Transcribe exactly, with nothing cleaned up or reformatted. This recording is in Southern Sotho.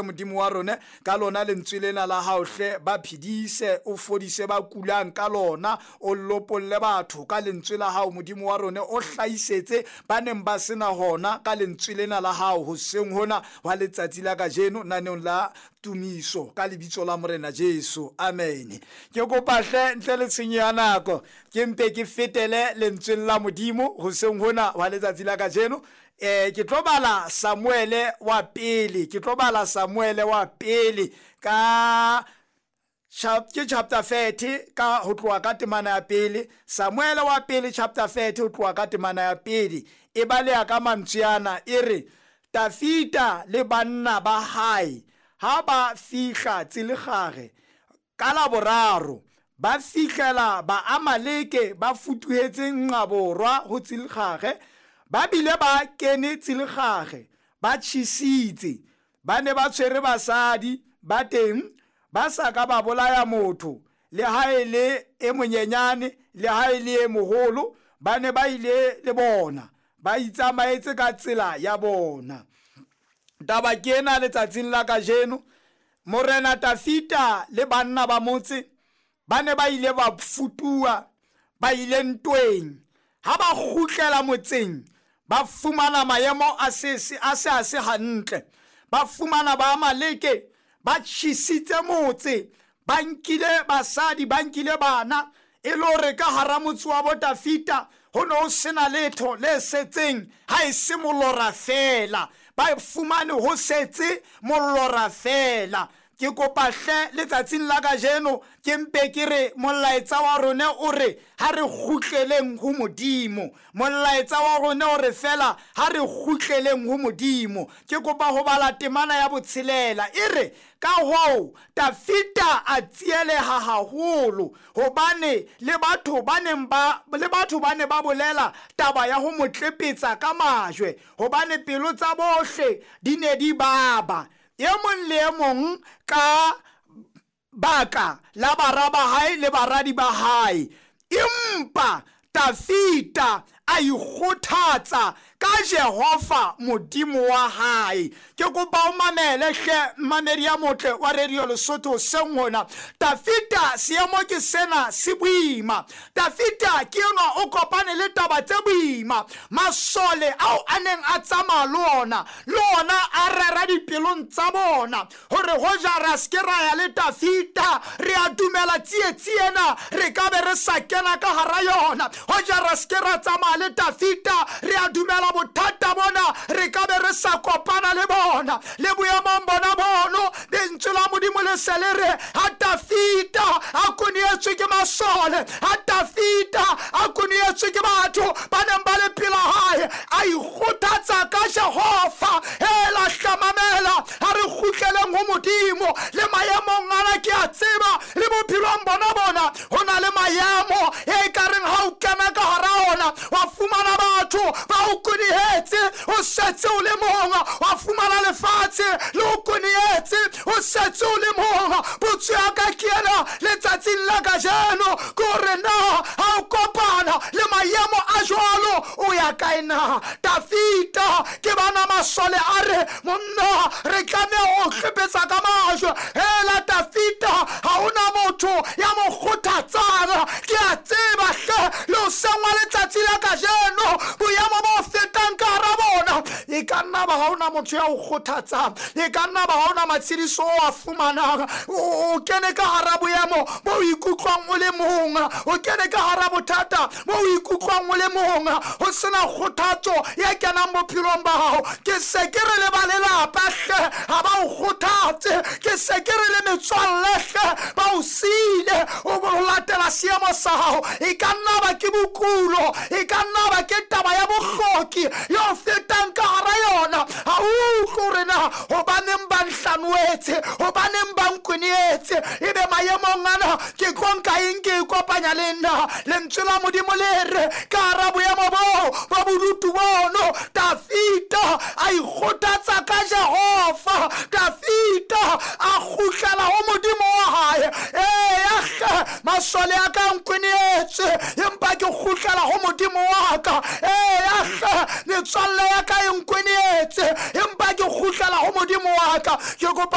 Modimo wa rona ka lona lentswe lena la hao hle, ba phedise, o fodise ba kulang ka lona, o lopolle batho ka lentswe la hao Modimo wa rona, o hlahisetse ba neng ba sena hona ka lentswe lena la hao hoseng hona wa letsatsi la kajeno naneong la tumiso ka lebitso la Morena Jesu, amen. Ke kopa hle ntle le tshenyo ya nako ke mpe ke fetele lentsweng la Modimo hoseng hona wa letsatsi la kajeno. Eh ke tlo bala Samuele wa pele, ke tlo bala Samuele wa pele ka ke chapter thirty ka ho tloha ka temana ya pele. Samuele wa pele chapter thirty ho tloha ka temana ya pele e baleha ka mantswe ana, e re Tafita le banna ba hae ha ba fihla Tsilegare ka la boraro, ba fihlela Baamaleke ba futuhetse nqa borwa ho Tsilegare, ba bile ba kene Tsilegare ba tjhesitse, ba ne ba tshwere basadi ba teng, ba sa ka ba bolaya motho le ha e le e monyenyane le ha e le e moholo, ba ne ba ile le bona, ba itsamaetse ka tsela ya bona. Taba ke ena letsatsing la kajeno, Morena Tafita le banna ba motse ba ne ba ile ba futuwa, ba ile ntweng. Ha ba kgutlela motseng ba fumana maemo a se a se a se hantle, ba fumana ba Amaleke ba tjhesitse motse, ba nkile basadi, ba nkile bana, e le hore ka hara motse wa bo Tafita ho no ho sena letho le setseng ha e se molora fela, ba fumane ho setse molora fela. Ke kopa hle letsatsing la kajeno ke mpe ke re molaetsa wa rona o re ha re kgutleleng ho Modimo, molaetsa wa rona o re fela ha re kgutleleng ho Modimo. Ke kopa ho bala temana ya botshelela, e re ka hoo Tafita a tsieleha haholo, hobane le batho ba neng ba le batho ba ne ba bolela taba ya ho mo tlepetsa ka majwe, hobane pelo tsa bohle di ne di baba, e mong le e mong ka baka la bara ba hae le baradi ba hae. Empa Tafita a ikgothatsa ka Jehova Modimo wa hae. Ke kopa o mamele hle mamedi ya motle wa Radio Lesotho seng hona. Tafita seemo ke sena se boima. Tafita ke enwa o kopane le taba tse boima. Masole ao a neng a tsamaya le ona, le ona a rera dipelong tsa bona hore hoja ra se ke ra ya le Tafita, re a dumela tsietsi ena re ka be re sa kena ka hara yona. Hoja ra se ke ra tsamaya le Tafita, re a dumela bothata bona re ka be re sa kopana le bona. Le boemong bona bono, lentswe la Modimo le se le re ha Tafita a konietswe ke masole, ha Tafita a konietswe ke batho ba neng ba le pela hae, a ikgothatsa ka Jehova. Hela hlamamela, ha re kgutleleng ho Modimo. Le maemong ana ke a tseba, le bophelong bona bona ho na le maemo e ka reng ha o kena ka hara ona wa fumana batho ba o konihetse, o setse o le mong, wa fumana lefatshe le o konihetse, o setse o le mong. Potso ya ka ke ena letsatsing la kajeno, ke hore na ha o kopana le maemo a jwalo o ya kae na? Tafita ke bana masole a re monna re tlameha ho tlepetsa ka majwe. Hela Tafita ha hona motho ya mo kgothatsang. Ke a tseba hle le ho sengwa letsatsi la kajeno boemo bo fetang ka hara bona, e ka nna ba ha hona motho ya o kgothatsang, e ka nna ba ha hona matshediso o a fumanang. O kene ka hara boemo bo o ikutlwang o le mong, o kene ka hara bothata bo o ikutlwang o le mong, ho sena kgothatso ya kenang bophelong ba hao. Ke se ke re le ba lelapa hle ha ba o kgothatse, ke se ke re le metswalle hle ba o siile, o bo latela seemo sa hao. E ka nna ba ke bokulo, e ka nna ba ke taba ya bohloki yo fetang ka hara yona. Ha o utlwe hore na hobaneng ba nhlanoetse, hobaneng ba nkonietse, ebe maemong ana ke tlo nka eng ke ikopanya le nna? Lentswe la Modimo le re ka hara boemo boo ba bodutu bono, Tafita a ikgothatsa ka Jehova. Tafita a kgutlela ho Modimo wa hae. Eya hle masole a ka nkonietse, empa ke kgutlela ho Modimo wa ka. Eya hle metswalle ya ka e nkonietse, empa ke kgutlela ho Modimo wa ka. Ke kopa